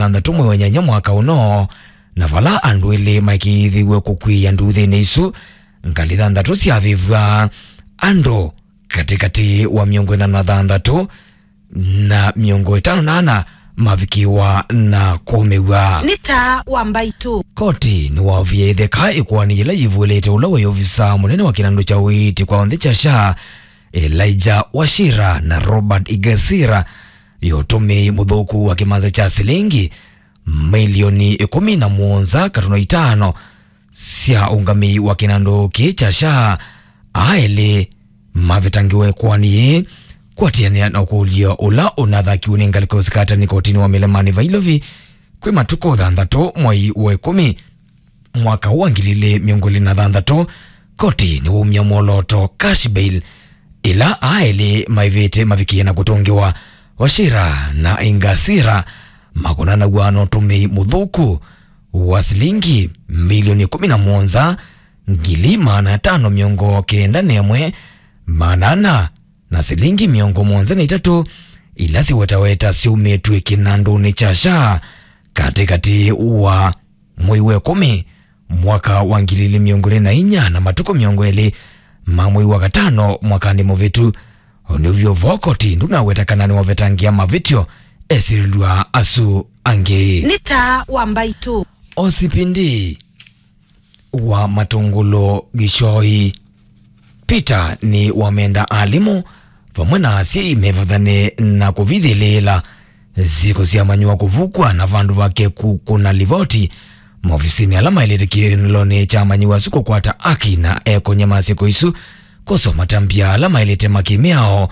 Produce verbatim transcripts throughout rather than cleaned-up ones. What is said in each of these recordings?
thanthatũ mwei wa nyanya mwaka ũno, na vala andũ elĩ maikĩĩthĩw'e kũkw'ĩĩa nduthĩnĩ isu, ngalĩ thanthatũ syavĩvw'a, andũ katĩkatĩ wa mĩongo ĩna na thanthatũ na mĩongo ĩtano na ana mavikĩwa na kũũmĩw'a. Nĩ taa wa mbaitũ. Koti nĩwaovie ĩtheka ĩkoani yĩla yĩvũlĩte ũla waĩ ovisa mũnene wa kĩnandũ kya ũiiti kwa onthe kya SHA, Elijah Wachira na Robert Igasira, ya ũtũmĩi mũthũku wa kĩmanza kya silingi milioni ĩkũmi na mũonza katuno itano sya ũngamĩi wa kĩnandũ kĩĩ kya SHA. Aa elĩ mavetangiwe ĩkoani yĩĩ kwatĩanĩa na ũkũlyo ũla ũnathakiwe nĩ ngalĩko sikatani kotinĩ wa Mĩlemanĩ Vailovi kwĩ matukũ thanthatũ mwei wa ĩkũmi mwaka wa ngili ilĩ mĩongo ĩlĩ na thanthatũ. Koti nĩwaumya mwolooto, cash bail, ĩla aa elĩ maĩvĩte mavikĩe na kũtũngĩwa. Wachira na Ingasira makonanaw'a na ũtũmĩi mũthũku wa silingi milioni ĩkũmi na mũonza, ngili maana atano mĩongo kenda na ĩmwe, maana ana na silingi mĩongo mũonza na itatũ ila siwetaweta syaumĩtw'e kĩnandũnĩ kya SHA katĩkatĩ wa mwei wa ĩkũmi mwaka wa ngili ilĩ mĩongo ĩlĩ na inya na matukũ mĩongo ĩlĩ ma mwei wa katano mwakanĩ mũvĩtu. Ũnĩuvyo vo koti ndũnaweta kana nĩwavetangĩa mavĩtyo esilĩlw'a asu angĩ. Nĩ taa wa mbaitũ. O C P D wa Matũngũlũ Gĩchoi Peter nĩwamenda alimũ vamwe na asyai mevathane na kũvithĩlĩĩla syĩko sya amanyĩw'a kũvukwa na vandũ vake kũkũna livoti maovisinĩ ala maĩlĩte kĩlonĩ kya amanyĩw'a asu kũkwata aki na ekonya ma syĩko isu kwosa matambya ala maĩlĩte makĩmĩao.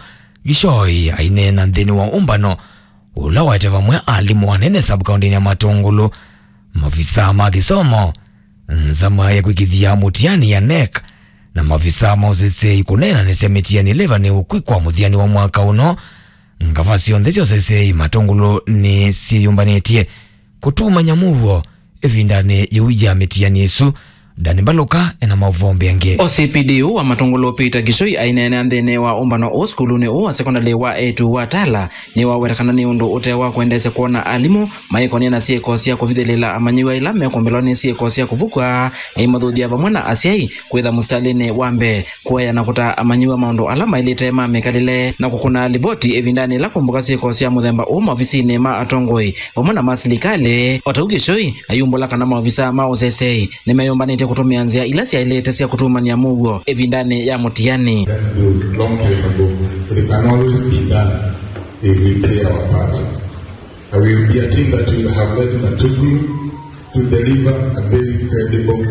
Gĩchoi aineena nthĩnĩ wa ũmbano ũla waete vamwe alimũ anene sub-kaũntĩnĩ ya Matũngũlũ, maovisaa ma kĩsomo, nzama ya kwĩkĩthya mũtiani ya NEC, na maovisaa ma ũseseĩ kũneenanĩsya mĩtiani ĩla ĩvanĩĩwe kwĩkwa mũthianĩ wa mwaka ũno. Ngava syonthe sya ũseseĩ Matũngũlũ nĩsyĩyũmbanĩtye kũtumany'a mũuo ĩvindanĩ yĩu ya mĩtiani ĩsu. Dani Mbaluka ena maũvoo mbeange. O C P D ũũ wa Matũngũlũ Peter Gĩchoi aineenea nthĩnĩ wa ũmbano ũũ sukulunĩ ũũ wa sekondalĩ wa eĩtu wa Tala nĩwaweta kana nĩ ũndũ ũte wa kwendeesya kwona alimũ maĩkonĩa na syĩko sya kũvithĩlĩla amanyĩw'a ila mekũmbĩlwa nĩ syĩko sya kũvukwa, aimathuthya vamwe na asyai kwĩtha mũsitalĩnĩ wa mbee kũea na kũtaa amanyĩw'a maũndũ ala maĩlĩte ma mĩkalĩle na kũkũna livoti ĩvindanĩ ĩla kũmbũka syĩko sya mũthemba ũũ maovisinĩ ma atongoi vamwe na ma silikalĩ. O ta ũu Gĩchoi ayumbũla kana maovisaa ma ũseseĩ nĩmeyũmbanĩtye kũtũmĩa nzĩa ila syaĩlĩte sya kũtumany'a mũuo ĩvindanĩ ya mũtiani. That do long time ago. It can always be done if we play our part. Uh, we will be a team that will have led Matuglu to deliver a very credible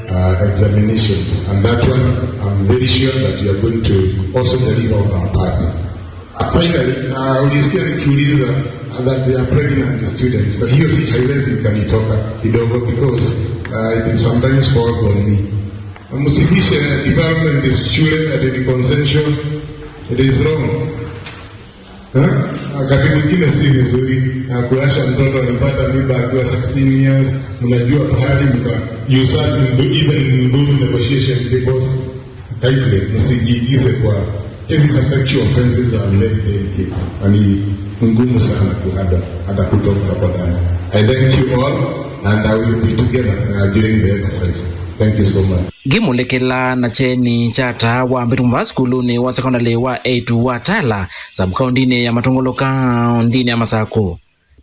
uh, examinations. And that one, I'm very sure that you are going to also deliver on our part. Uh, finally, uh, ulisikia nikiuliza that they are pregnant students. So hiyo si haiwezi ikanitoka kidogo because uh, it sometimes falls on me. Msifishe development is shule that it is consensual. It is wrong. Eh? Wakati mwingine si vizuri na kuasha mtoto alipata mimba akiwa sixteen years, mnajua pahali mka you start in the, even in those negotiation tables. Kindly, msijiingize kwa cases of sexual offenses and late delicate. Na ni ngumu sana kuhada hata kutoka hapa ndani. I thank you all and I will be together uh, during the exercise. Thank you so much. Ngĩmũlĩkĩla na kyeni kya taa wa mbĩtu mva sukulunĩ wa sekondalĩ wa eĩtu wa Tala, sub-kaũntĩnĩ ya Matũngũlũ, kaũntĩnĩ ya Masakũ,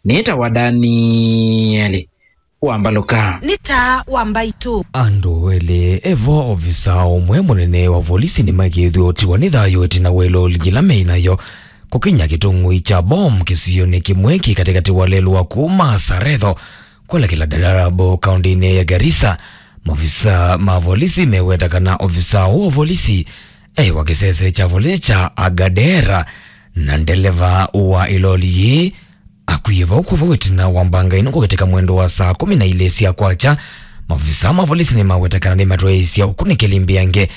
nĩtawa Danieli wa Mbaluka. Nĩ taa wa mbaitũ. Andũ elĩ evo, ovisa ũmwe mũnene wa volisi, nĩmaĩkĩĩthw'e ũtiwa nĩ thayũ ĩtina wa ĩloli yĩla meĩ nayo kũkinya kĩtũng'ũi kya bomu kĩsionĩ kĩmwe kĩ katĩkatĩ wa lelũ wa kuma Saretho kwelekela Dadaab, kaũntĩnĩ ya Garissa. Maofisa ma volisi meweta kana ofisa ũũ wa volisi e wa kĩsese kya volisi kya Agadera, na ndeleva wa ĩloli yĩĩ akwie vau kwa vau ĩtina wa mbanga ĩno kũkĩtĩka mwendo wa saa kũmi na ilĩ sya kwakya. Maofisa ma volisi nĩmaweta kana nĩmatwaĩĩsya ũkunĩkĩli mbeange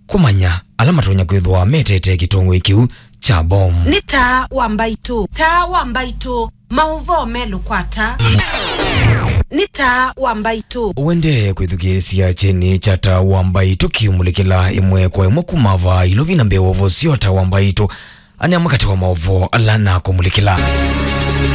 kũmanya ala matonya kwĩthwa metete kĩtũngũĩ kĩu kya bomu. Nĩ taa wa mbaitũ. Taa wa mbaitũ. Maũvoo melũ kwa taa. Nĩ taa wa mbaitũ. Wendee kwĩthukĩĩsya kyeni kya taa wa mbaitũ kĩumũlĩkĩla ĩmwe kwa ĩmwe kuma vaa ilovi na mbee wa ũvosyo taa wa mbaitũ. Ane amwe katĩ wa maũvoo ala nakũmũlĩkĩla.